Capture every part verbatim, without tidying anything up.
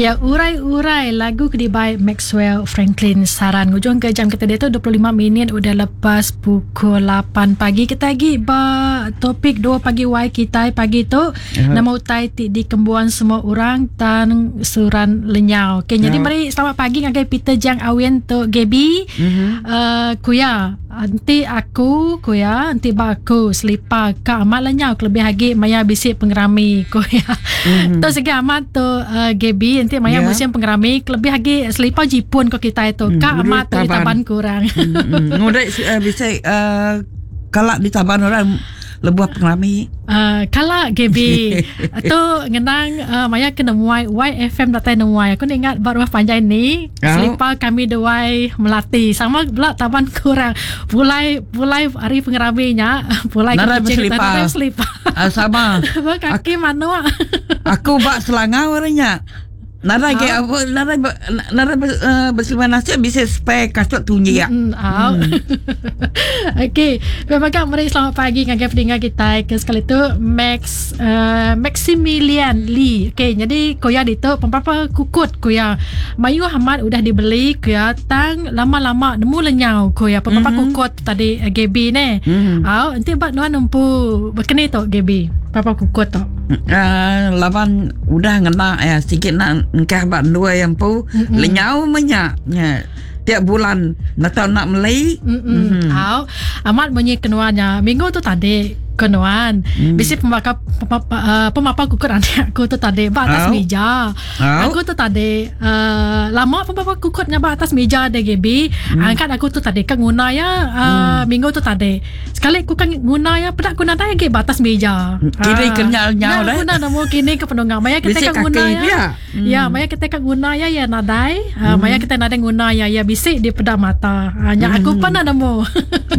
Ya, urai-urai lagu ke dibai Maxwell Franklin Saran. Ngujung ke jam kita dia tu dua puluh lima minit udah lepas pukul lapan pagi. Kita lagi ba topik dua pagi Y kita pagi tu. Uh-huh. Nama utai ti dikembuan semua orang tan suran lenyau. Okey, uh-huh. Jadi mari selamat pagi ngagai Peter Jang Awen tu Gaby. Uh-huh. Uh, kuya, anti aku kuya, anti ba aku selipar ka amat lenyau kelebih lagi maya bisi pengerami kuya. Uh-huh. Tu segi amat tu uh, Gaby nanti maya yeah. musim pengerami kelebih lagi selipar jipun ko kita itu. Hmm, ka amat tu ditaban kurang. Hmm, hmm. Ngudai uh, bisa uh, kalak ditaban orang lebuh pengerami. Uh, kalak Gaby tu ngenang uh, maya kena muai Y F M datai nemuai. Aku ingat ba rumah panjai ni oh. Selipar kami duai melati sama pula taban kurang. Pulai pulai hari pengeraminya pulai ke kucing nadai selipar. Uh, sama. Kaki manuk. Aku bak Selangau orangnya. Nadai ke apa nadai nadai berselima nasib bisa spare kasut tunji ya. Mm, oh. Mm. Okey, memang mari selamat pagi ngagai pendengar kita ke sekali tu Max uh, Maximilian Lee. Okey, jadi koya ditu pempapa kukut koya. Mayu Ahmad udah dibeli koya tang lama-lama nemu lenyau koya pempapa mm-hmm. kukut tadi uh, Gaby ne. Mm-hmm. Au, nanti bak nuan nempu berkeni tu Gaby. Papa kukut tu. Uh, lawan udah ngena ya sikit nak engkah bak dua yang pu mm-hmm. lenyau menyak ya. Tiap bulan nak tahu nak beli. Mm-hmm. Au, amat bunyi kenuannya minggu tu tadi kenuan. Mm. Bisi pemaka pemapa, pemapa kukut anak aku tu tadi ba atas oh. meja. Oh. Aku tu tadi uh, lama pemapa kukutnya ba atas meja de G B. Mm. Angkat aku tu tadi kan guna ya uh, mm. minggu tu tadi. Sekali aku kan guna ya pedak guna dah lagi ba atas meja. Kini kenyal nyau dah. Guna namo kini ke penunggang. Maya kita kan guna ya. Mm. Ya, maya kita kan guna ya ya nadai. Uh, mm. Maya kita nadai guna ya ya bisik di pedak mata. Uh, nya mm. aku pun nak namo.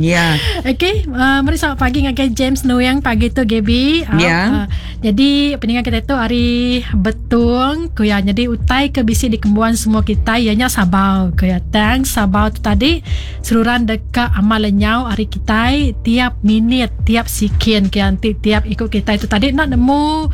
Ya. Okey, uh, mari selamat pagi ngagai James Nuyang pagi tu Gaby. Ya. Yeah. Uh, jadi pendengar kita tu hari betung kuya jadi utai ke bisi dikembuan semua kita ianya sabau kuya tang sabau tu tadi seluruhan dekat amal lenyau hari kita tiap minit tiap sikin ke nanti tiap ikut kita itu tadi nak nemu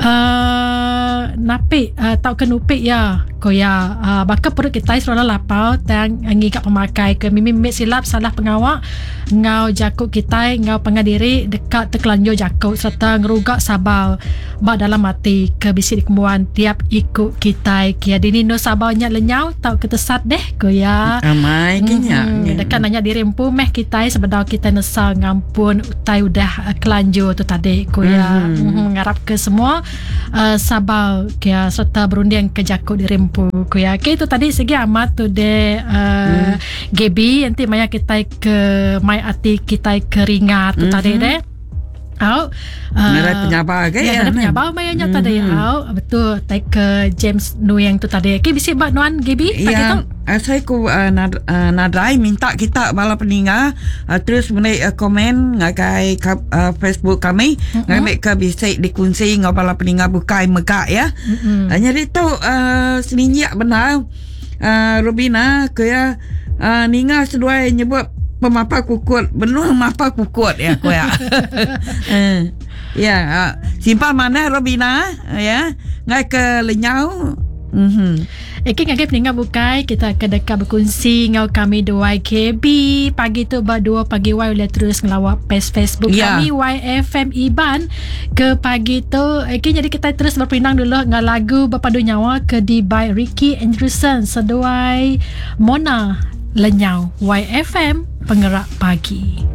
uh, napik uh, tau ke nupik ya kuya uh, bakal perut kita seluruhan lapau tang ngigap pemakai ke mimi silap salah pengawak ngau jakuk kita ngau pangadiri dekat terkelanjur jakuk serta ngerugak sabau bak dalam mati ke bisi dikembuan tiap ikut kita kia dini no sabaunya lenyau tau ketesat deh ko ya amai kenya hmm, dekat nanya diri empu meh kita sebedau kita nesa ngampun utai udah kelanjur tu tadi ko ya mm-hmm. mm-hmm, ngarap ke semua uh, sabau kia serta berunding ke jakuk diri empu ko ya. Okey, itu tadi segi amat tu de uh, mm. Gaby nanti maya kita ke mai ati kita keringat tu mm-hmm. tadi deh. Au, uh, narai penyabah ke ya, narai penyabah mayanya mm-hmm. tadi au, betul take ke James Nuyang tu tadi. Okey, bisi bak nuan Gaby pagi ya, tu. Uh, saya ku uh, nad, uh, nadai minta kita bala peninga uh, terus menik uh, komen ngagai uh, Facebook kami mm-hmm. ngambil ke bisa dikunci ngau bala peninga bukai megak ya. Mm-hmm. Uh, jadi tu uh, seninjak benar uh, Rubina ke ya uh, ninga seduai nyebut pemapa kukut benuh mapa kukut ya ko ya. Eh, ya, simpan mana Robina ya. Ngai ke lenyau. Mhm. Okey, ngagai pendengar bukai kita akan dekat berkongsi ngau kami dua K B pagi tu ba dua pagi Y boleh terus ngelawak page Facebook ya. Kami Y F M Iban ke pagi tu. Okey, jadi kita terus berpinang dulu ngau lagu Berpadu Nyawa ke di by Ricky Anderson seduai Mona Lenyau. Y F M Pengerak Pagi.